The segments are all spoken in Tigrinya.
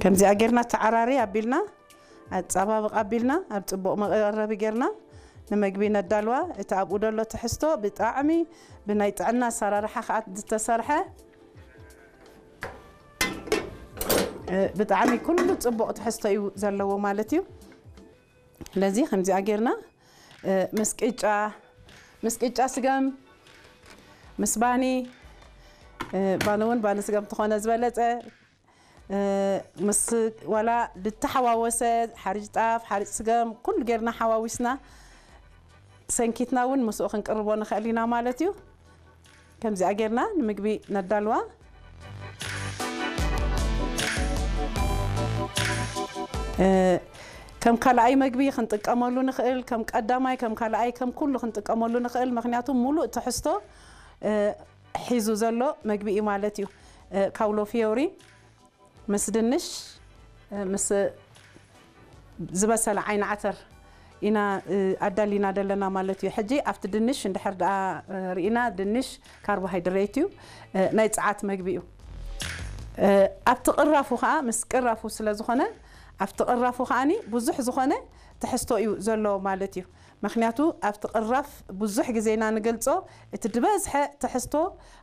ከምዚኣ ጌርና ተዓራሪ ኣቢልና፣ ኣጻባብቕ ኣቢልና፣ ኣብ ጽቡቕ መቐረቢ ጌርና ንመግቢ ነዳልዋ። እቲ ኣብኡ ደሎ ትሕዝቶ ብጣዕሚ ብናይ ጥዕና ኣሰራርሓ ከኣ ዝተሰርሐ፣ እ፣ ብጣዕሚ ኩሉ ጽቡቕ ትሕዝቶ እዩ ዘለዎ ማለት እዩ። ስለዚ ከምዚኣ ጌርና፣ እ፣ ምስ ቅጫ፣ ምስ ቅጫ ስገም፣ ምስ ባኒ፣ እ፣ ባኒ እውን ባኒ ስገም ተኾነ ዝበለጸ፣ እ፣ ምስ ዋላ ዝተሓዋወሰ ሓርጭ ጣፍ፣ ሓርጭ ስገም፣ ኩሉ ጌርና ሓዋዊስና ሰንኪትና እውን ምስኡ ክንቅርቦ ንኽእል ኢና ማለት እዩ። ከምዚኣ ጌርና ንምግቢ ነዳልዋ። እ፣ ከም ካልኣይ መግቢ ክንጥቀመሉ ንኽእል፣ ከም ቀዳማይ፣ ከም ካልኣይ፣ ከም ኩሉ ክንጥቀመሉ ንኽእል። ምኽንያቱ ሙሉእ ትሕዝቶ፣ እ፣ ሒዙ ዘሎ መግቢ እዩ ማለት እዩ። እ፣ ካውሎ ፊዮሪ ምስ ድንሽ፣ እ፣ ምስ ዝበሰለ ዓይኒ ዓተር ኢና፣ እ፣ ኣዳሊና ዘለና ማለት እዩ። ሕጂ ኣብቲ ድንሽ እንድሕር ደኣ፣ እ፣ ርኢና፣ ድንሽ ካርቦሃይድሬት እዩ፣ እ፣ ናይ ጸዓት መግቢ እዩ። እ፣ ኣብቲ ቅራፉ ኸኣ፣ ምስ ቅራፉ ስለ ዝኾነ፣ ኣብቲ ቅራፉ ኸኣኒ ብዙሕ ዝኾነ ትሕዝቶ እዩ ዘሎ ማለት እዩ። ምኽንያቱ ኣብቲ ቅራፍ ብዙሕ ግዜ ኢና ንገልጾ፣ እቲ ዝበዝሐ ትሕዝቶ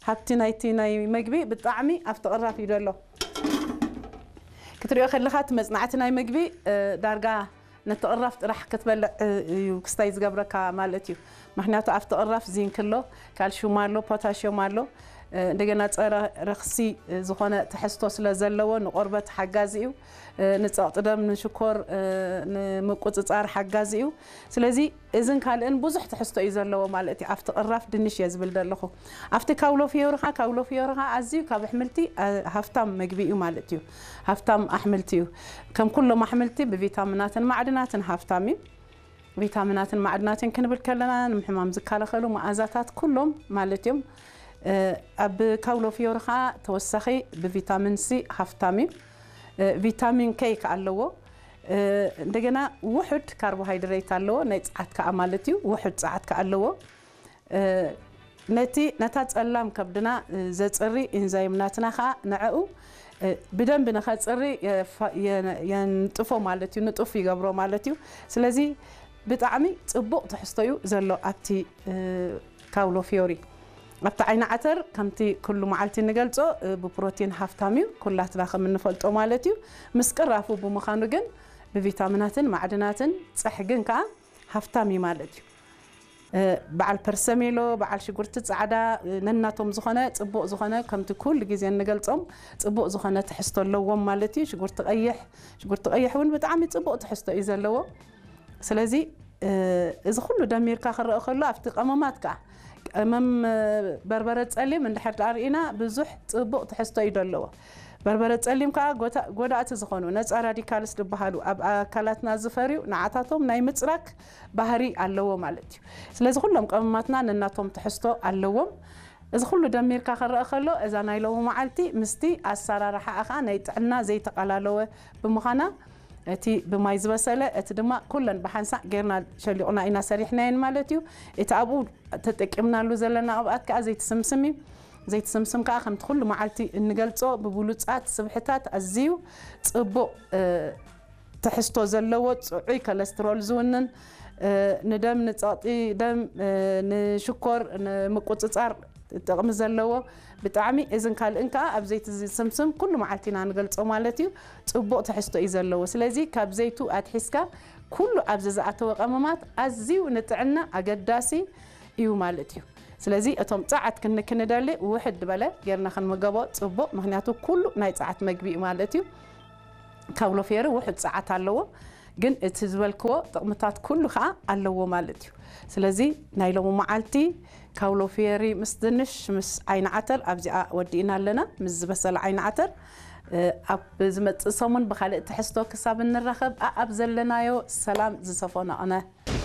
ሃብቲ ናይቲ ናይ መግቢ ብጣዕሚ ኣብቲ ቅራፍ እዩ ዘሎ። ክትሪኦ ከለኻ እቲ መጽናዕቲ ናይ መግቢ፣ እ፣ ዳርጋ ነቲ ቅራፍ ጥራሕ ክትበልዕ፣ እ፣ እዩ ክስታይ ዝገብረካ ማለት እዩ። ምኽንያቱ ኣብቲ ቅራፍ ዚንክ ኣሎ፣ ካልሽዩም ኣሎ፣ ፖታሽዮም ኣሎ። እ፣ እንደገና ጸረ ረኽሲ፣ እ፣ ዝኾነ ትሕዝቶ ስለ ዘለዎ ንቆርበት ሓጋዚ እዩ። እ፣ ንጸቕጢ ደም፣ ንሽኮር፣ እ፣ ንምቁጽጻር ሓጋዚ እዩ። ስለዚ እዝን ካልእን ብዙሕ ትሕዝቶ እዩ ዘለዎ ማለት እዩ። ኣብቲ ቅራፍ ድንሽ እየ ዝብል ዘለኹ። ኣብቲ ካውሎ ፍዮሪ ኸኣ፣ ካውሎ ፍዮሪ ኸኣ ኣዝዩ ካብ ኣሕምልቲ፣ እ፣ ሃፍታም መግቢ እዩ ማለት እዩ። ሃፍታም ኣሕምልቲ እዩ። ከም ኩሎም ኣሕምልቲ ብቪታሚናትን ማዕድናትን ሃፍታም እዩ። ቪታሚናትን ማዕድናትን ክንብል ከለና ንምሕማም ዝከላኸሉ መኣዛታት ኩሎም ማለት እዮም። እ፣ ኣብ ካውሎ ፍዮሪ ኸኣ ተወሳኺ ብቪታሚን ሲ ሃፍታም እዩ። እ፣ ቪታሚን ኬ ከኣ ኣለዎ። እ፣ እንደገና ውሑድ ካርቦሃይድሬት ኣለዎ፣ ናይ ጸዓት ከኣ ማለት እዩ። ውሑድ ጸዓት ከኣ ኣለዎ። እ፣ ነቲ፣ ነታ ጸላም ከብድና፣ እ፣ ዘጽሪ ኢንዛይም ናትና ከኣ ንዕኡ፣ እ፣ ብደንቢ ንኸጽሪ የፋ-፣ የ-፣ የንጥፎ ማለት እዩ፣ ንጡፍ ይገብሮ ማለት እዩ። ስለዚ ብጣዕሚ ጽቡቕ ትሕዝቶ እዩ ዘሎ ኣብቲ፣ እ፣ ካውሎ ፍዮሪ። ኣብቲ ዓይኒ ዓተር ከምቲ ኩሉ መዓልቲ እንገልጾ፣ እ፣ ብፕሮቲን ሃፍታም እዩ፣ ኩላትና ከም እንፈልጦ ማለት እዩ። ምስ ቅራፉ ብምዃኑ ግን ብቪታሚናትን ማዕድናትን ጸሕግን ከኣ ሃፍታም እዩ ማለት እዩ። እ፣ በዓል ፐርሰሜሎ፣ በዓል ሽጉርቲ ጻዕዳ፣ እ፣ ነናቶም ዝኾነ ጽቡቕ ዝኾነ፣ ከምቲ ኩሉ ግዜ እንገልጾም፣ ጽቡቕ ዝኾነ ትሕዝቶ ኣለዎም ማለት እዩ። ሽጉርቲ ቀይሕ፣ ሽጉርቲ ቀይሕ እውን ብጣዕሚ ጽቡቕ ትሕዝቶ እዩ ዘለዎ። ስለዚ፣ እ፣ እዚ ኩሉ ደሚርካ ክረአ ከሎ፣ ኣብቲ ቀመማት ከኣ፣ ቀመም፣ እ፣ በርበረ ጸሊም እንድሕር ደኣ ርኢና፣ ብዙሕ ጽቡቕ ትሕዝቶ እዩ ዘለዎ። በርበረ ጸሊም ከኣ ጎታ-፣ ጎዳእቲ ዝኾኑ ነጻ ራዲካልስ ዝበሃሉ ኣብ ኣካላትና ዝፈርዩ ንዓታቶም ናይ ምጽራግ ባህሪ ኣለዎ ማለት እዩ። ስለዚ ኩሎም ቀመማትና ነናቶም ትሕዝቶ ኣለዎም። እዚ ኩሉ ደሚርካ ክረአ ከሎ፣ እዛ ናይ ሎሚ መዓልቲ ምስቲ ኣሰራርሓኣ ኸኣ ናይ ጥዕና ዘይተቓላለወ ብምዃና፣ እቲ ብማይ ዝበሰለ፣ እቲ ድማ ኩለን ብሓንሳእ ጌርና ሸሊቑና ኢና ሰሪሕናየን ማለት እዩ። እቲ ኣብኡ ተጠቂምናሉ ዘለና ቅብኣት ከኣ ዘይቲ ስምስም እዩ። ዘይቲ ስምስም ከኣ ከምቲ ኩሉ መዓልቲ እንገልጾ ብብሉጻት ስብሕታት ኣዝዩ ጽቡቕ፣ እ፣ ትሕዝቶ ዘለዎ፣ ጽዑይ ኮለስትሮል ዝውንን፣ እ፣ ንደም፣ ንጸቕጢ ደም፣ እ፣ ንሽኮር ንምቁጽጻር ጥቕሚ ዘለዎ፣ ብጣዕሚ እዝን ካልእን ከኣ ኣብ ዘይቲ ዝስምስም ኩሉ መዓልቲ ኢና ንገልጾ ማለት እዩ። ጽቡቕ ትሕዝቶ እዩ ዘለዎ። ስለዚ ካብ ዘይቱ ኣትሒዝካ ኩሉ ኣብዚ ዝኣተወ ቀመማት ኣዝዩ ንጥዕና ኣገዳሲ እዩ ማለት እዩ። ስለዚ እቶም ጸዓት ክን-፣ ክንደሊ ውሕድ ዝበለ ጌርና ክንምገቦ ጽቡቕ፣ ምኽንያቱ ኩሉ ናይ ጸዓት መግቢ እዩ ማለት እዩ። ካውሎ ፌሪ ውሑድ ጸዓት ኣለዎ፣ ግን እቲ ዝበልክዎ ጥቕምታት ኩሉ ከኣ ኣለዎ ማለት እዩ። ስለዚ ናይ ሎሚ መዓልቲ ካውሎ ፌሪ ምስ ድንሽ ምስ ዓይኒ ዓተር ኣብዚኣ ወዲእና ኣለና። ምስ ዝበሰለ ዓይኒ ዓተር፣ እ፣ ኣብ ዝመጽእ ሰሙን ብኻልእ ትሕዝቶ ክሳብ እንራኸብ፣ ኣኣብ ዘለናዮ ሰላም ዝሰፈኖ ቕነ።